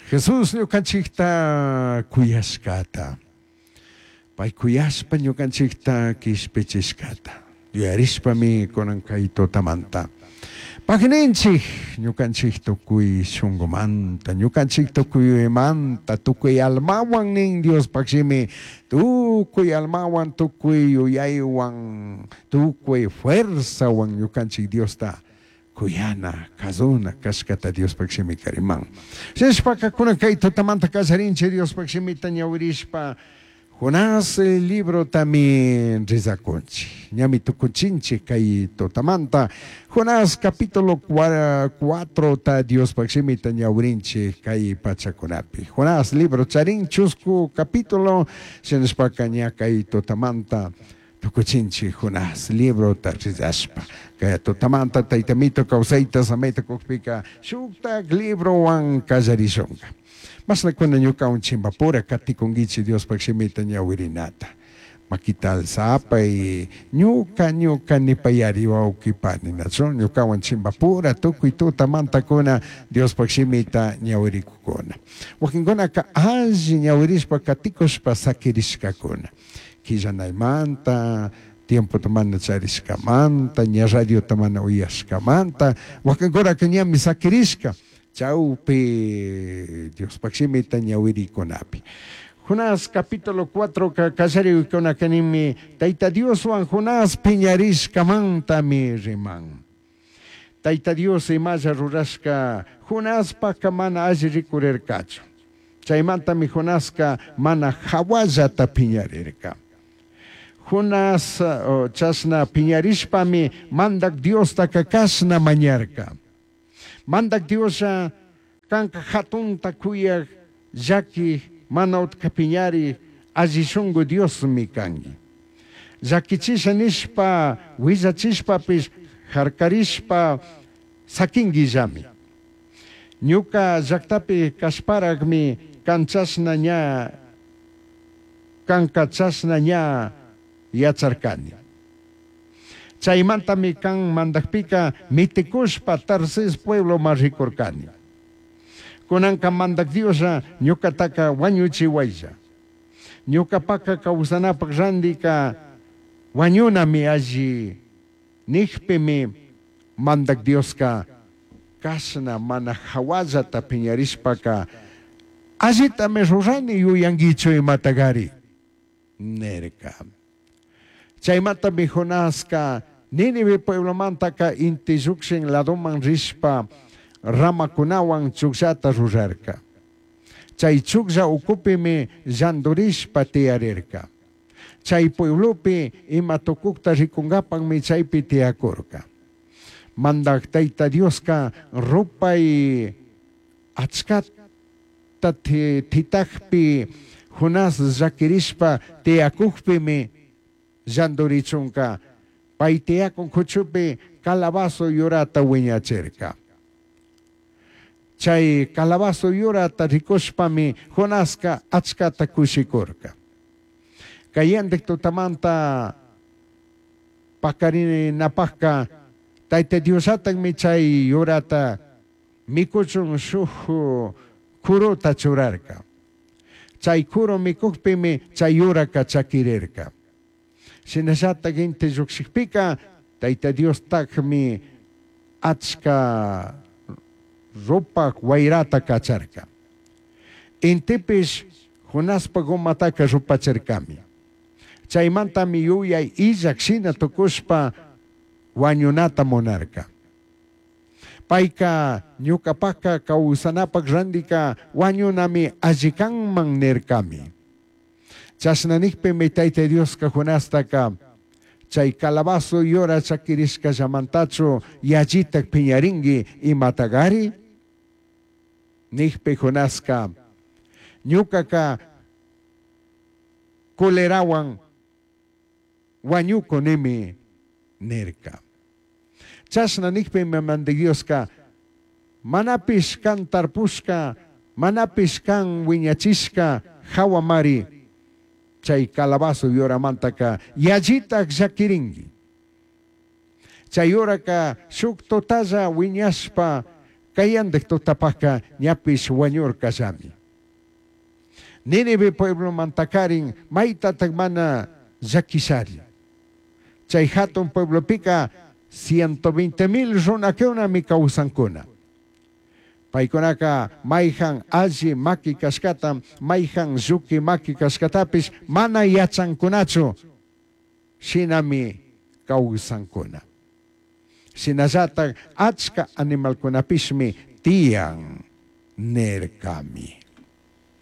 Jesús ñucanchijta cuyashcata, pai cuyashpa ñucanchijta quishpichishcata yuyarishpami cunan cai tutamanta pagninchij ñucanchij tucui shungumanta, ñucanchij tucui yuyaimanta, tucui almahuan nin Diospaj shimi, tucui almahuan, tucui yuyaihuan, tucui fuerzahuan ñucanchij Diosta cuyana, cazuna cashcata Diospaj shimica riman. Shinashpaca cunan cai tutamanta callarinchij Diospaj shimita ñahuirishpa Jonás librotami rezacunchij. Ñami tucuchinchij cai tutamanta. Jonás capítulo cuatrota Diospaj shimita ñahuirinchij cai pachacunapi. Jonás libro charin chuscu capítulo, shinashpaca ña cai tutamanta tucuchinchij Jonás librota rezashpa. Cai tutamanta Taita Mito causaita samaita cujpica shujtaj librohuan callarishunga. Mashnacuna ñucahuan chimbapura caticunguichij Diospaj shimita ñahuirinata. Maquita alzapai, ñuca, ñuca nipayari huauqui pani, nachu? Ñucahuan chimbapura tucui tutamantacuna Diospaj shimita ñahuiricucuna. Huaquincunaca alli ñahuirishpa caticushpa saquirishcacuna. Quillanaimanta, tiempota mana charishcamanta, ña radiota mana uyashcamanta, huaquincunaca ñami saquirishca. Chaupi Diospaj shimita ñahuiricunapi. Jonás capítulo 4 callaricunaca ninmi, Taita Dioshuan Jonás piñarishcamantami riman. Taita Dios imalla rurashca Jonaspajca mana alli ricurircachu. Chaimantami Jonasca mana jahuallata piñarirca. Jonás chashna piñarishpami Mandaj Diostaca cashna mañarca. Mandaj Dioslla canca jatunta cuyaj, llaquij, mana utca piñarij, alli shungu Diosmi cangui. Llaquichisha nishpa, huillachishpapish, jarcarishpa saquinguillami. Ñuca llactapi cashparajmi can chashna ña, canca chashna ña yacharcani. Chaimantami can mandajpica miticushpa Tarsis puebloman ricurcani. Cunanca Mandaj Dioslla ñucataca huañuchihuailla. Ñucapaca causanapaj randica huañunami alli nijpimi Mandaj Diosca cashna mana jahuallata piñarishpaca allitami rurani yuyanguichu imatagari nirca. Chaimantami Jonasca Nínive pueblomantaca inti llujshin ladoman rishpa ramacunahuan chugllata rurarca. Chai chuglla ucupimi llandurishpa tiyarirca. Chai pueblopi ima tucujta ricungapajmi chaipi tiyacurca. Mandaj Taita Diosca rupai achcata titajpi Jonás llaquirishpa tiyacujpimi llandurichunca pai tiyacun cuchupi calabazo yurata huiñachirca. Chai calabazo yurata ricushpami Jonasca achcata cushicurca. Cayendij tutamanta pacarinapajca Taita Diosllatajmi chai yurata micuchun shuj curuta churarca. Chai curu micujpimi chai yuraca chaquirirca. Shinallataj inti llujshijpica Taita Diostajmi achca rupaj huairata cacharca. Intipish Jonaspaj umataca rupachircami. Chaimantami yuyai illaj shina tucushpa huañunata munarca. Paica ñucapajca causanapaj randica huañunami alli canman nircami. Chashna nijpimi Taita Diosca Jonastaca chai calabazo yura chaquirishcallamantachu yallitaj piñaringui imatagari? Nijpi Jonasca ñucaca culerahuan huañucunimi nirca. Chashna nijpimi Mandaj Diosca manapish can tarpushca, manapish can huiñachishca jahuamari chai calabazo yuramantaca yallitaj llaquiringui. Chai yuraca shuj tutalla huiñashpa Cayandij tutapajca ñapish huañurcallami. Nínive pueblomantacarin maitataj mana llaquishari. Chai jatun pueblopica 120 mil runacunami causancuna. Paicunaca maijan alli maqui cashcata, maijan lluqui maqui cashcatapish mana yachancunachu, shinami causancuna. Shinallataj achca animalcunapishmi tiyan nircami.